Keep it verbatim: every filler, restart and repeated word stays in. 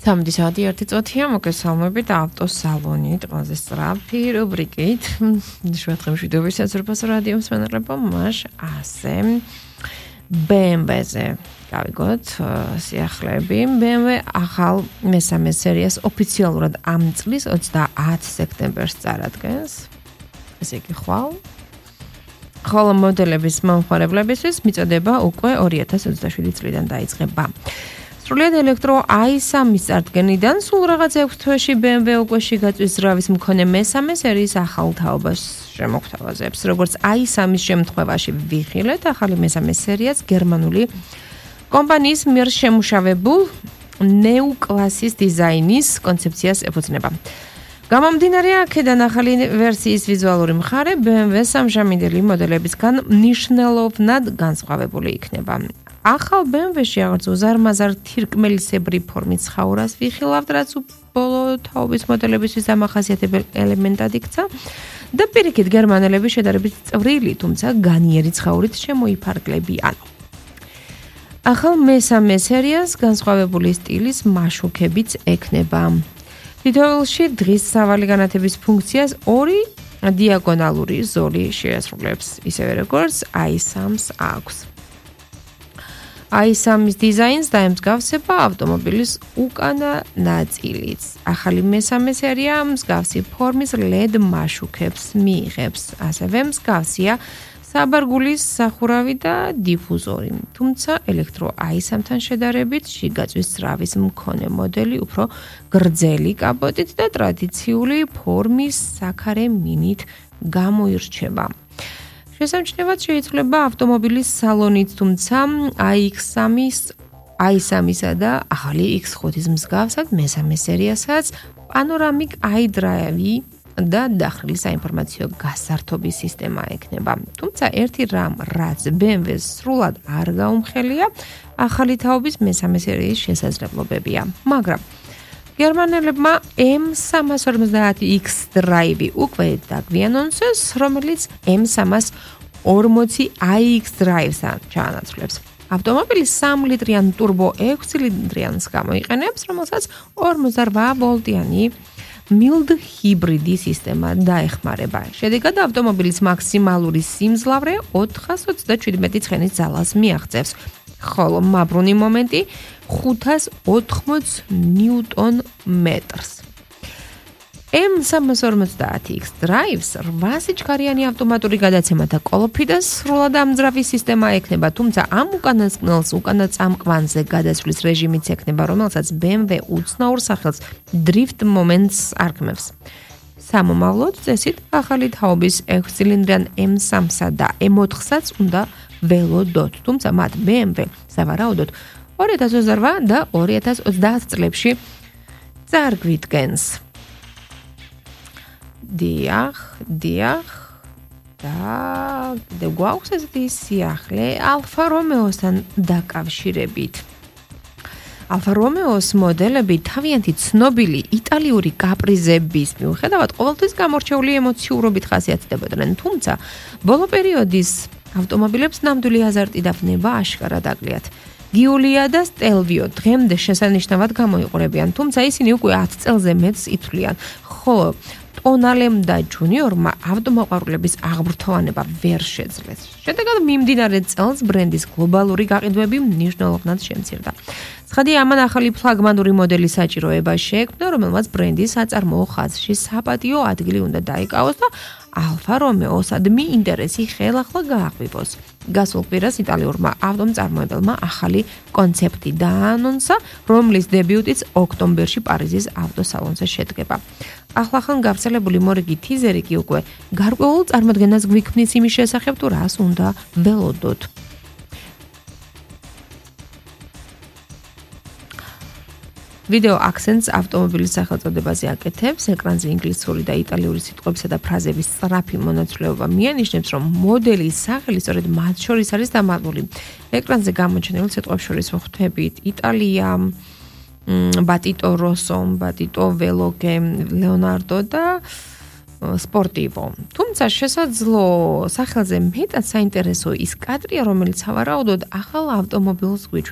სამი საათი ერთი წუთია, მოგესალმებით ავტოსალონით, ყველაზე სწრაფი რუბრიკით. შუადღე მშვიდობის საზრდოობს რადიო მსმენელებო, მას ასე ბე ემ ვე-ზე გავიგოთ სიახლეები. ბე ემ ვე ახალ მესამე სერიას ოფიციალურად ამ წლის ოცდაათ სექტემბერს წარადგენს. ესე იგი ხვალ. ხოლო მოდელების მომხმარებლებისთვის მიწოდება უკვე ორი ათას ოცდაშვიდი წლიდან დაიწყება. სრულიად ელექტრო აი სამის წარდგენიდან სულ რაღაც ექვს თვეში ბე ემ ვე უკვე შიგაწვის ძრავის მქონე მესამე სერიის ახალ თაობას შემოგთავაზებს. როგორც აი სამის შემთხვევაში ვიხილეთ, ახალი მესამე სერიაც გერმანული კომპანიის მიერ შემუშავებულ ნეუ კლასის დიზაინის კონცეფციას ეფუძნება. გამომდინარე აქედან ახალი ვერსიის ვიზუალური მხარე ბე ემ ვე სამჟამინდელი მოდელებისგან მნიშვნელოვნად განსხვავებული იქნება. ახალ ბე ემ ვე-ში აღარც უზარმაზარ თირკმელისებრი ფორმის ცხაურას ვიხილავთ, რაც ბოლო თაობის მოდელებისთვის დამახასიათებელ ელემენტად იქცა და პირიქით გერმანელები შედარებით წვრილი, თუმცა განიერი ცხაურით შემოიფარგლებიან. ახალ მესამე სერიას განსხვავებული სტილის მაშუქებიც ექნება. თითოეულში დღის სავალი განათების ფუნქციას ორი დიაგონალური ზოლი შეასრულებს, ისევე როგორც აი სამს აქვს. აი სამის დიზაინს დაემსგავსება ავტომობილის უკანა ნაწილიც. ახალი მესამე სერია მსგავსი ფორმის ლედ მაშუქებს მიიღებს. ასევე მსგავსია საბარგულის სახურავი და დიფუზორი. თუმცა ელექტრო აი სამთან შედარებით შიგაწვის ძრავის მქონე მოდელი უფრო გრძელი კაპოტით და ტრადიციული ფორმის საქარე მინით გამოირჩევა. შესამჩნევად შეიცვლება ავტომობილის სალონით, თუმცა აი სამისა და ახალი ექს ხუთის მსგავსად მესამე სერიასაც პანორამიკ iDrive და დახრილი საინფორმაციო გასართობის სისტემა ექნება. თუმცა ერთი რამ, რაც ბე ემ ვე-ს სრულად არ გაუმხელია, ახალი თაობის მესამე სერიის შესაძლებლობებია. მაგრამ გერმანელებმა ემ სამას ორმოცდაათი ექს Drive უკვე დაგვიანონსეს, რომელიც ემ სამას ორმოცი აი ექს Drive-სთან ჩაანაცვლებს. ავტომობილი სამი ლიტრიან ტურბო ექვს ცილინდრიანს გამოიყენებს, რომელსაც ორმოცდარვა ვოლტიანი მილდ ჰიბრიდი სისტემა დაეხმარება. შედეგად ავტომობილის მაქსიმალური სიმძლავრე ოთხას ოცდაჩვიდმეტი ცხენის ძალას მიაღწევს, ხოლო მაბრუნი მომენტი ხუთას ოთხმოც ნიუტონ მეტრს. ემ სამას ორმოცდაათი ექს Drive-ს რვა სიჩქარიანი ავტომატური გადაცემა და კოლოფი და სრულად ამძრავი სისტემა ექნება, თუმცა ამ უკანასკნელს უკანა წამყვანზე გადასვლის რეჟიმიც ექნება, რომელსაც ბე ემ ვე უცნაურ სახელს დრიფტ მომენტს არქმევს. სამომავლოდ წესით ახალი თაობის ექვს ცილინდრიან ემ სამსა და ემ ოთხსაც უნდა ველოდოთ, თუმცა მათ ბე ემ ვე სავარაუდოდ ორი ათას ოცდარვა და ორი ათას ოცდაათ წლებში წარგვიდგენს. დიახ, დიახ და და გვაქვს ესეთი სიახლე ალფა რომეოსთან დაკავშირებით. ალფა რომეოს მოდელები თავიანთი ცნობილი იტალიური კაპრიზების მიუხედავად ყოველთვის გამორჩეული ემოციურობით ხასიათდებოდნენ, თუმცა ბოლო პერიოდის ავტომობილებს ნამდვილი აზარტი და ვნება აშკარად აკლიათ. გიულია და სტელვიო დღემდე შესანიშნავად გამოიყურებიან, თუმცა ისინი უკვე ათ წელზე მეტს ითვლიან, ხოლო ტონალემ და ჯუნიორმა ავტომოყვარულების აღბრთოვანება ვერ შეძლეს. შედეგად მიმდინარე წელს ბრენდის გლობალური გაყიდვები მნიშვნელოვნად შემცირდა. ცხადია, ამან ახალი ფლაგმანური მოდელი საჭიროება შეექმნა, რომელმაც ბრენდის საწარმოო ხაზში საპატიო ადგილი უნდა დაიკავოს და ალფა რომეოსადმი ინტერესი ხელახლა გააღვივოს. გასულ კვირას იტალიურმა ავტომწარმოებელმა ახალი კონცეფტი დააანონსა, რომლის დებიუტიც ოქტომბერში პარიზის ავტოსალონზე შედგება. ახლახან გავრცელებული მორიგი თიზერი კი უკვე გარკვეულ წარმოდგენას გვიქმნის იმის შესახებ, თუ რას უნდა ველოდოთ. ვიდეო აქცენტს ავტომობილის სახელწოდებაზე აკეთებს, ეკრანზე ინგლისური და იტალიური სიტყვებისა და ფრაზების სწრაფი მონაცვლეობა მიანიშნებს, რომ მოდელის სახელი სწორედ მათ შორის არის დამალული. ეკრანზე გამოჩენილ სიტყვებს შორის ვხვდებით იტალია, ბატიტო როსო, ბატიტო ველოგე, ლეონარდო და სპორტივო. თუმცა შესაძლო სახელზე მეტად საინტერესო ის კადრია, რომელიც სავარაუდოდ ახალ ავტომობილს გვიჩვენებს.